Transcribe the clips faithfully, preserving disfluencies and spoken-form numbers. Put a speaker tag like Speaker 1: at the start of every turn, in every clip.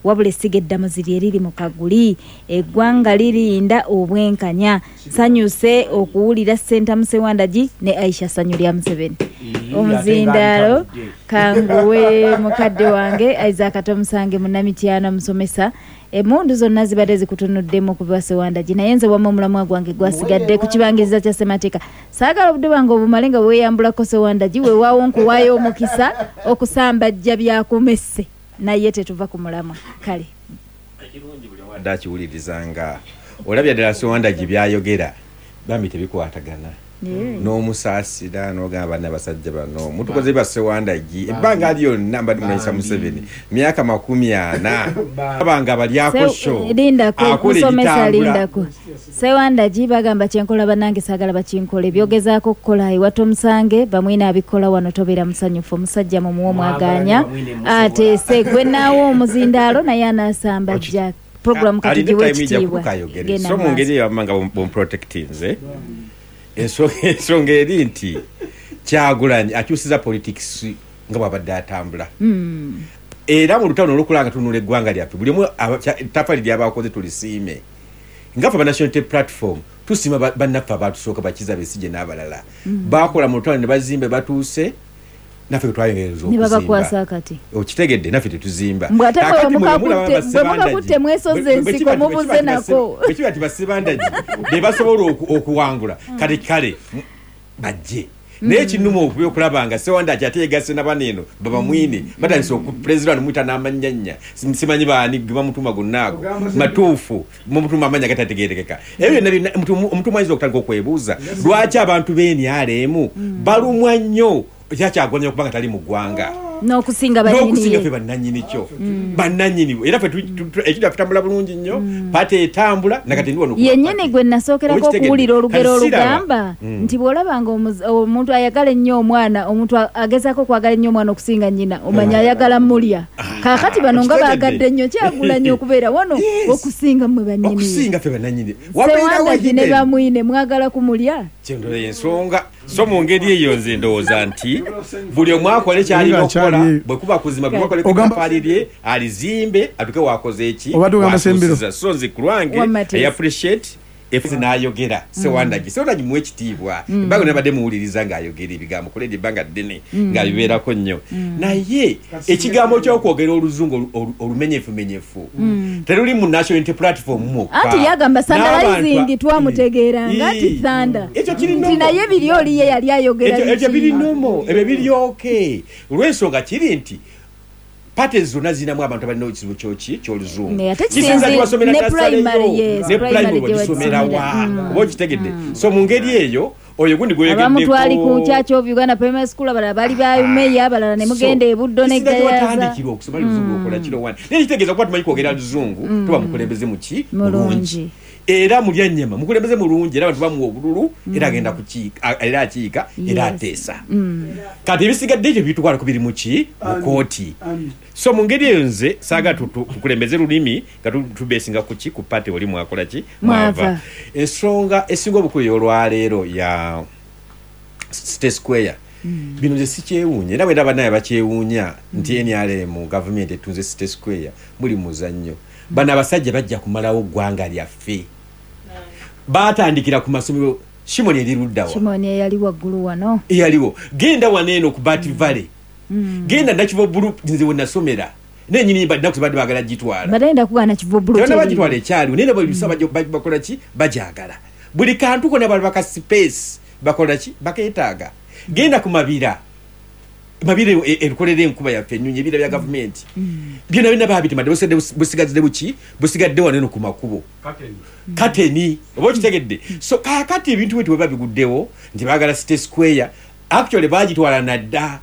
Speaker 1: Wabula essiga eddamuzi lye riri mu Kaguli. Eggwanga lirinda obwenkanya. Sanyuse okuwulira Ssentamu Ssewandagi ne Aisha Sanyu lya Museveni. Omuzindaalo kanguwe mukadde wange Isaac Tomusange munnamityana musomesa. Emmundu zonna zibadde zikutunuddemu okuva Ssewandagi, naye nze wamma omulamwa gwange gwasigadde ku kibangiriza kya ssemateeka. Saagala obudde bwange obumale nga weeyambulako Ssewandagi, weewaawo nkuwaayo omukisa okusambajja byakumesse, naye tetuva ku mulamwa. Kale
Speaker 2: ekirungi buli omu adde akiwuliriza nga olabye ddala Ssewandagi byayogera bambi tebikwatagana n'omusaasira n'ogamba banna basajja bano mutukoze ba Ssewandagi ebbanga lyonna mbadde munanyisa Museveni myaka makumi ana abanga balyako sho
Speaker 1: lindako kusomesa lindako Ssewandagi bagamba kyenkola bannange saagala bakinkole byogezaako okukola ewa Tomusange bamwine abikola wano tobeera musanyufu omusajja mumuwe omwaganya ateese gwe naawo omuzindaalo naye anaasambajja program katugiwe ekitiibwa
Speaker 2: so mu ngeri eyo nga bumprotectinze ensonga eri nti Kyagulanyi akyusiza politics nga bw'abadde atambula
Speaker 1: mm.
Speaker 2: Era mu lutalo n'olukulanga tunula eggwanga lyaffe buli omu ettaffaali ly'abakoze tulisiime nga ffe National Unity Platform tusiima bannaffe abatusooka Bakiza Besigye n'abalala
Speaker 1: mm.
Speaker 2: Bakola mu lutalo ne bazimba batuuse naffe twayongereza
Speaker 1: okusimba ne babakwasa kati
Speaker 2: okitegedde naffe tetuzimba
Speaker 1: bwe mukakutte mwesoze ensiko mubuze nako
Speaker 2: bwe kiba nti Bassebandagi be basobola okuwangula kale kale bajje naye ekinnuma okuba okulaba nga Ssewandagi ate yegasse na bano eno babamwine batandise okupulezidenti muyita n'amannyanya simanyi baani ge bamutuma gonna ago matuufu mumutuma amannya gatategeerekeka ebyo byonna byonna omuntu ayinza okutandika okwebuuza lwaki abantu b'N R M balumwa nnyo kyakyagwanya okubanga tali mu ggwanga
Speaker 1: n'okusinga
Speaker 2: n'okusinga ffe bannannyini kyo bannannyini era ffe ekyo tutambula bulungi nnyo pate etambula nakati ndi wano
Speaker 1: yennyini gwe nasookerako okuwulira olugero olugamba nti bw'olabanga omuntu ayagala ennyo omwana omuntu agezaako okwagala ennyo omwana okusinga nnyina omanya ayagala mulya kaakati bano nga baagadde nnyo Kyagulanyi okubeera wano okusinga mmwe bannyini
Speaker 2: okusinga ffe bannannyini
Speaker 1: Ssewandagi ne bamwine mwagala kumulya
Speaker 2: kyendolo ensonga so mu ngeri eyo nze ndowooza nti buli omu akole kyalina okukola bwe kuba kuzimba bwe akole ettaffaali lye alizimbe atuke wakoze eki so nze ku lwange I appreciate efuzi n'ayogera Ssewandagi Ssewandagi muwe ekitiibwa ebbanga nabadde muwuliriza ng'ayogera ebigambo kuledi ebbanga ddene ng'abibeerako nnyo naye ekigambo ky'okwogera oluzungu olumenyefumenyefu teruli mu National Unity Platform mwokka
Speaker 1: anti yagamba sandalayizing twamutegeeranga nti thanda nti naye biri oli ye yali ayogera
Speaker 2: ekyo biri nomo ebyo biri okay olw'ensonga kiri nti parties zonna zirinamu abantu abalina ekizibu kyoki ky'oluzungu kisinza tibasomera ne primary bagisomerawa oba okitegedde so mu ngeri eyo oyo gundi gweyogeddeko
Speaker 1: abamu twali ku Church of Uganda Primary School abalala bali ba meya abalala ne mugenda e Buddo ne Gayaza
Speaker 2: watandikirwa okusoma oluzungu okola kiro wani naye kitegeeza kuba tumanyi kwogera luzungu tuba mukulembeze muki mulungi era mulya nnyama mukulembeze mulungi era abantu bamuwa obululu era agenda kukiika era akiika era ateesa kati ebisigadde ekyo bitwala ku biri muki mu kooti so mu ngeri eyo nze saagala tukulembeze lulimi nga tubeesinga ku ki ku pate oli mwakola ki mwava ensonga esinga obukulu ey'olwaleero ya City Square bino nze sikyewuunya era bwe ndaba naye bakyewuunya nti N R M gavumenti etunze City Square muli muzannyo bano abasajja bajja kumalawo ggwanga lyaffe baatandikira ku masomero Shimoni eri luddawa
Speaker 1: Shimoni eyali waggulu wano
Speaker 2: eyaliwo genda wano eno ku Bat Valley genda Nakivubo Blue nze we nasomera naye nnyini nnaku zibadde baagala gitwala
Speaker 1: badde ndakugaana Nakivubo Blue
Speaker 2: tebana bagitwala ekyaliwo naye nabo bisa bakola ki bagyagala buli kantu konna bali baka space bakola ki bakeetaaga genda ku Mabira Mabira erukolera enkuba yaffe ennyonyi ebira bya gavumenti byonna byonna baabitema busigadde buki busigadde wano eno ku makubo kateni oba okitegedde so kaakati ebintu bwe bwe babiguddewo nti baagala City Square actually baagitwala nadda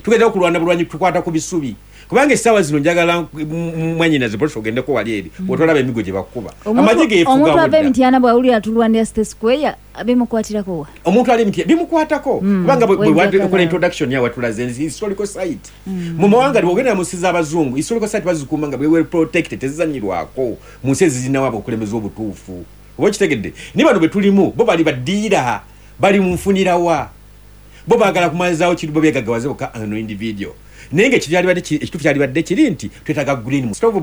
Speaker 2: tugenda okulwana bulwanyi tukwata ku bisubi kubanga essaawa zino njagala mwannyinaze polisi ogendeko wali eri otolaba emigo gye bakuba amagye geefuga
Speaker 1: omuntu ava emityana bw'awulira tulwanira City Square bimukwatirako wa
Speaker 2: omuntu ali emityana bimukwatako kubanga bwe wakola introduction yawe watulaze historical site mu mawanga bw'ogenda mu nsi z'abazungu historical site bazikuuma nga well protected tezizannyirwako mu nsi ezirinawo abakulembeze obutuufu oba okitegedde ni bano bwe tulimu bo bali baddiira bali mu nfunirawa bo baagala kumalizaawo kiri bo beegaggawaze bokka ano individual naye nga ekituufu kyalibadde kiri nti twetaaga green stove.